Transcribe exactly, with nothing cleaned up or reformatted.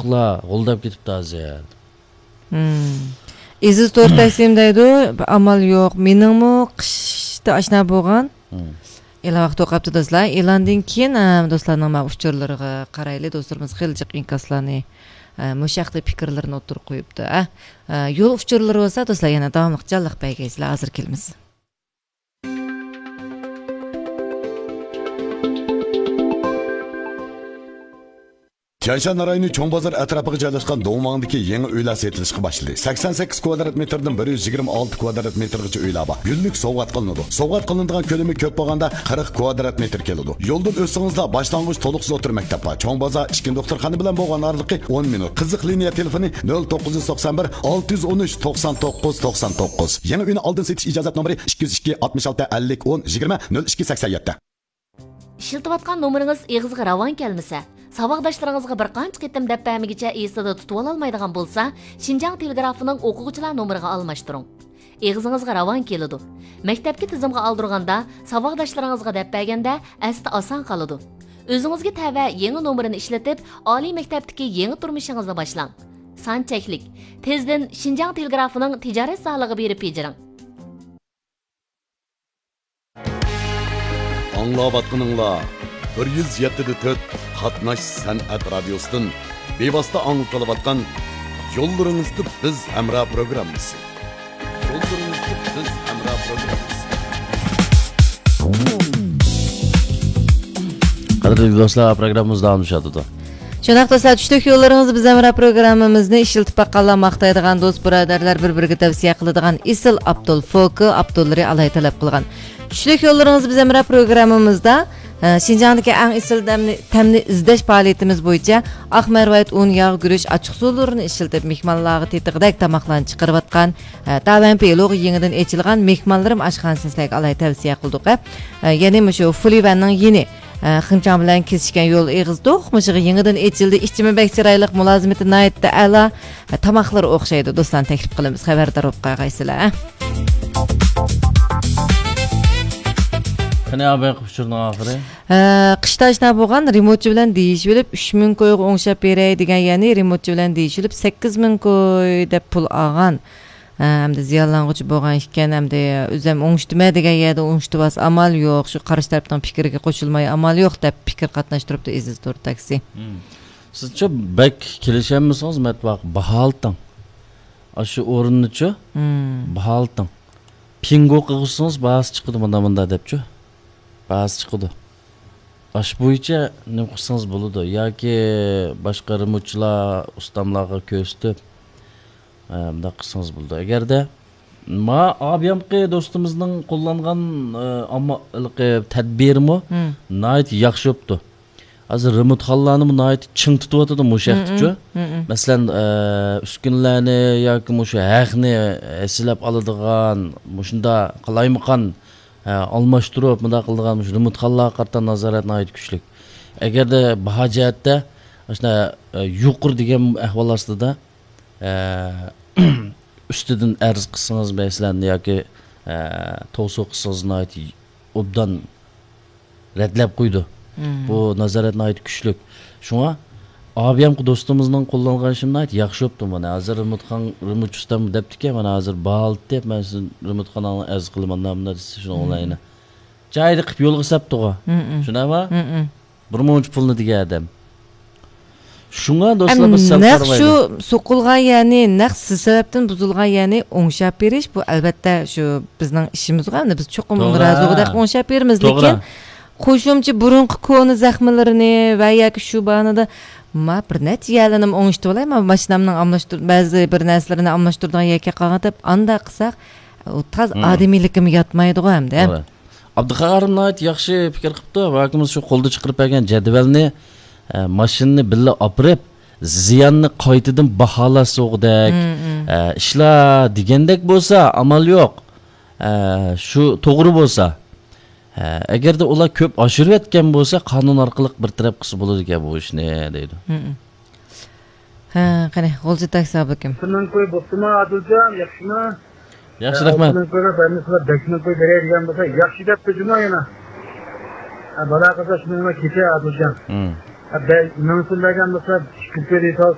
ئۇچۇقلار غۇلداپ كېتىپتۇ ھازىر. مم. ئېزىز تور تەكسىم دەيدۇ، ئامال يوق. مېنىڭمۇ قىشتا ئاشنا بولغان. مم. ئېلان ۋاقتى قاپتۇ دوستلار. ئېلاندىن كېيىن، ئە، دوستلارنىڭ مانا ئۇچۇرلىرىغا قارايلى. دوستلىرىمىز خېلى جىق ئىنكاسلارنى، ئە، مۇشۇ ھەقتە پىكىرلىرىنى ئوتتۇرىغا قويۇپتۇ. ئە، ئە، يول ئۇچۇرلىرى بولسا دوستلار يەنە داۋاملىق جانلىق بەرگەيسىلەر. ھازىر كېلىمىز. تيەنشان رايونى چوڭ بازار ئەتراپىغا جايلاشقان دوڭماڭدىكى يېڭى ئۆيلەر سېتىلىشقا باشلىدى. سەكسەن سەككىز كۋادرات مېتىردىن بىر يۈز يىگىرمە ئالتە كۋادرات مېتىرغىچە ئۆيلەر بار. گۈللۈك سوۋغات قىلىنىدۇ. سوۋغات قىلىنىدىغان كۆلىمى كۆپ بولغاندا قىرىق كۋادرات مېتىر كېلىدۇ. يولدىن ئۆتسىڭىزلا باشلانغۇچ تولۇقسىز ئوتتۇرا مەكتەپ بار. چوڭ بازار ئىچكى دوختۇرخانا بىلەن بولغان ئارىلىقى ئون مىنۇت. قىزىق لىنىيە تېلېفونى نۆل توققۇز يۈز توقسان بىر، ئالتە يۈز ئون ئۈچ، توقسان توققۇز، توقسان توققۇز. يېڭى ئۆينى ئالدىن سېتىش ئىجازەت نومۇرى ئىككى يۈز ئىككى، ئاتمىش ئالتە، ئەللىك، ئون، يىگىرمە، نۆل ئىككى، سەكسەن يەتتە. ئىشلىتىۋاتقان نومۇرىڭىز ئېغىزغا راۋان كەلمىسە، ساۋاقداشلىرىڭىزغا بىر قانچە قېتىم دەپ بەرمىگۈچە ئېسىدە تۇتۇۋالالمايدىغان بولسا، شىنجاڭ تېلېگرافىنىڭ ئوقۇغۇچىلار نومۇرىغا ئالماشتۇرۇڭ. ئېغىزىڭىزغا راۋان كېلىدۇ. مەكتەپكە تىزىمغا ئالدۇرغاندا، ساۋاقداشلىرىڭىزغا دەپ بەرگەندە، ئەستە ئاسان قالىدۇ. ئۆزىڭىزگە تەۋە يېڭى نومۇرىنى ئىشلىتىپ، ئالىي مەكتەپتىكى يېڭى تۇرمۇشىڭىزنى باشلاڭ. سان چەكلىك. تېزدىن شىنجاڭ تېلېگرافىنىڭ تىجارەت زالىغا بېرىپ بېجىرىڭ. ئاڭلاۋاتقىنىڭلار بىر يۈز يەتتە دە تۆت قاتناش سەنئەت رادىيوسىدىن بىۋاسىتە ئاڭلىتىلىۋاتقان يوللىرىڭىزدا بىز ھەمراھ پروگراممىسى. يوللىرىڭىزدا بىز ھەمراھ پروگراممىسى. قەدىرلىك دوستلار، پروگراممىمىز داۋاملىشىۋاتىدۇ. شۇنداق دوستلار، چۈشلۈك يوللىرىڭىز بىز ھەمراھ پروگراممىمىزنى ئىشلىتىپ باققانلار ماختايدىغان، دوست بۇرادەرلەر بىر-بىرىگە تەۋسىيە قىلىدىغان ئېسىل ئاپتول فوكا ئاپتوللىرى ئالاھىدە تەلەپ قىلغان. چۈشلۈك يوللىرىڭىز بىز ھەمراھ پروگراممىمىزدا، ئە، شىنجاڭدىكى ئەڭ ئېسىل تەمنى، تەمنى ئىزدەش پائالىيىتىمىز بويىچە ئاق مەرۋايىت ئۇن، ياغ، گۈرۈچ، ئاچچىقسۇلىرىنى ئىشلىتىپ، مېھمانلارغا تېتىغۇدەك تاماقلارنى چىقىرىۋاتقان، ئە، تاۋەن پېلۇغا يېڭىدىن ئېچىلغان مېھمانلىرىم ئاشخانىسىنى سىلەرگە ئالاھىدە تەۋسىيە قىلدۇق، ئە. ئە، يەنى مۇشۇ فۇلىۋەننىڭ يېنى، ئە، خېڭچاڭ بىلەن كېسىشكەن يول ئېغىزى توق، مۇشۇغا يېڭىدىن ئېچىلدى. ئىچىمۇ بەك چىرايلىق، مۇلازىمىتى ناھايىتى ئەلا، ئە، تاماقلىرى ئوخشايدۇ. دوستلارنى تەكلىپ قىلىمىز، خەۋەردار بولۇپ قالغايسىلەر، ئە. قېنى، ئاباي، ئۇچۇرنىڭ ئاخىرى؟ ھە، قىشتا ئاشنا بولغان رېمونتچى بىلەن دېيىشىۋېلىپ، ئۈچ مىڭ كويغا ئوڭشاپ بېرەي دېگەن، يەنى رېمونتچى بىلەن دېيىشىۋېلىپ، سەككىز مىڭ كوي دەپ پۇل ئالغان. ھە، ئەمدى زىيانلانغۇچى بولغان ئىكەن، ئەمدى ئۆزۈم ئوڭشىتىمەن دېگەن يەردە ئوڭشىتىۋالسا ئامال يوق، شۇ قارشى تەرەپنىڭ پىكرىگە قوشۇلماي ئامال يوق دەپ پىكىر قاتناشتۇرۇپتۇ ئېزىز تور تاكسى. مم. سىزچۇ بەك كېلىشەلمىسىڭىز، مەتبۇ ئاكا، باھالىتىڭ. ئاشۇ ئورۇننىچۇ، مم، باھالىتىڭ. پىڭگو قىلغۇزسىڭىز باھاسى چىقىدۇ، مۇنداق، مۇنداق دەپچۇ. باھاسى چىقىدۇ. ئاشۇ بويىچە نېمە قىلسىڭىز بولىدۇ. ياكى باشقا رېمونتچىلار، ئۇستاملارغا كۆرسىتىپ، ئە، مۇنداق قىلسىڭىز بولىدۇ. ئەگەردە ما ئابىيامقى دوستىمىزنىڭ قوللانغان، ئە، ئامما-، ھېلىقى تەدبىرىمۇ، مم، ناھايىتى ياخشى بوپتۇ. ھازىر رېمونتخانىلارنىمۇ ناھايىتى چىڭ تۇتۇۋاتىدۇ مۇشۇ ھەقتىچۇ. مم، مم. مەسىلەن، ئە، ئۈسكۈنىلەرنى ياكى مۇشۇ ھەقنى ھەسسىلەپ ئالىدىغان، مۇشۇنداق قالايمىقان، ئە، ئالماشتۇرۇپ، مۇنداق قىلىدىغان مۇشۇ رېمونتخانىلارغا قارىتا نازارەت ناھايىتى كۈچلۈك. ئەگەردە باھا جەھەتتە ئاشۇنداق، ئە، يۇقىرى دېگەن ئەھۋال ئاستىدا، ئە، ئۈستىدىن ئەرز قىلسىڭىز، مەسىلەن، ياكى، ئە، توۋسۇ قىلسىڭىز، ناھايىتى ئوبدان رەتلەپ قويىدۇ. مم. بۇ نازارەت ناھايىتى كۈچلۈك. شۇڭا ئابىيامقى دوستىمىزنىڭ قوللانغان ئىشىمۇ ناھايىتى ياخشى بوپتۇ. مانا ھازىر رېمونتخان، رېمونت ئۇستام دەپتىكەن، مانا ھازىر باھالىتىپ، مەن سىزنىڭ رېمونتخاناڭلارنى ئەرز قىلىمەن، مانا مۇنداق دېسە، شۇنىڭ، مم، ئوڭلايدۇ. جايىدا قىلىپ يولغا سەپتىغۇ. مم، مم. شۇنداقمۇ؟ مم، مم. بىر مۇنچە پۇلنى دېگەن ئادەم. شۇڭا دوستلار، بىز سەل نەق قارىمايلى. شۇ سوقۇلغان يەرنى، نەق سىز سەۋەبتىن بۇزۇلغان يەرنى ئوڭشاپ بېرىش، بۇ ئەلۋەتتە شۇ بىزنىڭ ئىشىمىزغۇ، ئەمدى بىز چوقۇم توغرا. رازىغۇدەك ئوڭشاپ بېرىمىز. توغرا. لېكىن قوشۇمچە بۇرۇنقى كونا زەخمىلىرىنى ۋە ياكى شۇ باھانىدا ما بىر نەچچە يەرلىرىنى ئوڭشىتىۋالاي، ما ماشىنامنىڭ ئالماشتۇر-، بەزى بىر نەرسىلىرىنى ئالماشتۇرىدىغان يەرگە قالغان دەپ، ئانداق قىلساق، ئۇ تاز، مم، ئادىمىيلىكىمۇ ياتمايدىغۇ ئەمدى. توغرا. ئابدۇخالىق ناھايىتى ياخشى پىكىر قىپتۇ. ۋە ئاكىمىز شۇ قولدا چىقىرىپ بەرگەن جەدۋەلنى، ئە، ماشىنىنى بىللە ئاپىرىپ، زىياننى قايتىدىن باھالاش سوغۇدەك، مم، مم، ئە، ئىشلار دېگەندەك بولسا، ئامال يوق. ئە، شۇ توغرا بولسا. ئە، ئەگەردە ئۇلار كۆپ ئاشۇرۇۋەتكەن بولسا، قانۇن ئارقىلىق بىر تەرەپ قىلسا بولىدىكەن بۇ ئىشنى، دەيدۇ. مم، مم. ھە، قېنى، غۇلجا تاكسى ئابلىكىم. شۇنىڭ كوي بوپتۇما، ئادىلجان، ياخشىمۇ؟ ياخشى، ھە، رەھمەت. شۇنىڭ كويغا بەرمىسىلەر، بەشنىڭ كوي بېرەي دېگەن بولسا، ياخشى دەپتۇ جۇمۇ يەنە. ھە، بالا قىلسا شۇنىڭغا كېچە ئادىلجان. ھە، بەي، مىڭسىن بەرگەن بولسا، ئىككى كوي دېسە،